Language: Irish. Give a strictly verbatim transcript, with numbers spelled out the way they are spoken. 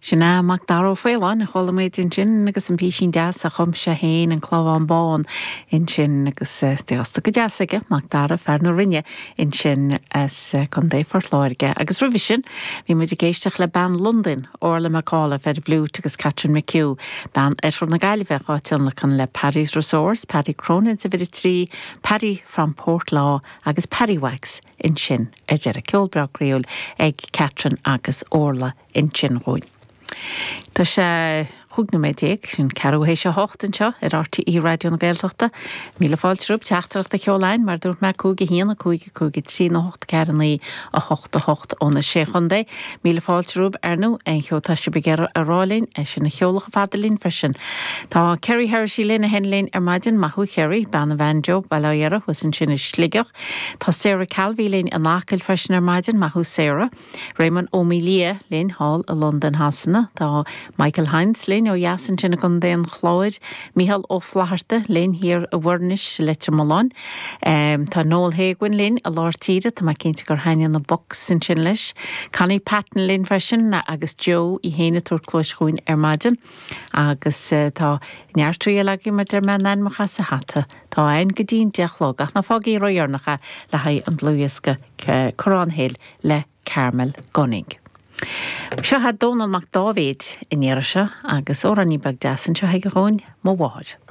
Sin é Macdara Ó Faoláin a chuala muid ansin agus an písín deas a chum sé féin an Clamhán Bán ansin agus deasta go deas aige Macdara fear na Rinne ansin as Contae Phort Láirge. Agus roimhe sin bhí muid ag éisteacht le bean Londain Orla McAuliffe ar fhliúit agus Catherine McHugh, bean Oirthear na Gaillimhe á tionlacan le Paddy's Resource, Paddy Cronin sa bhit trí, Paddy from Portlaw agus Paddy Wax ansin ar deireadh ceol breá croíúil ag Catherine agus Orla ansin dhúinn. Tá sé chúig nóiméad déag sin ceathrú théis a hocht anseo ar RTÉ Raidió na Gaeltachta. Míle fáilte romhaibh teachtaireacht a sheoladh mar dúirt mé cúig a haon a cúig a cúig a trí a hocht ceathair naoi a hocht a hocht ó na sé chontae. Míle fáilte romhaibh ar ndóigh aon cheo tá sibh ag iarraidh a rá linn é sin a sheoladh fada linn freisin. Tá Kerry Hershey linn a hen linn ar maidin maith thú Kerry bean an bhanjo Baile thuas ansin i Sligeach. Tá Sarah Calvi linn in Acaill freisin ar maidin maith thú Sarah. Raymond Ó Mília linn thall i Londain Shasana Tá Michael Heinz linn ó dheas ansin i gContae an Chláir, Micheál Ó Flatharta linn thiar i bhFoirnis Leitir Mealláin. Um, tá Noel Haguin linn i lár tíre tá mé cinnte gur thaithin na Bucks ansin leis. Connie Patton linn freisin agus Joe í héana túr clóis chuin ar maidin. Agus uh, tá neart eile mar deir mé ainmneacha sa hata. Tá ein go dtí'n deich ach ná fágaigí ródheireanach le haghaidh an dlúthdhiosca Corrán Hill le Carmel Gunning. Seo Dónall Mac Dáibhéid in iarra seo agus amhráinín beag deas anseo chuige dhúinn mo mháthair.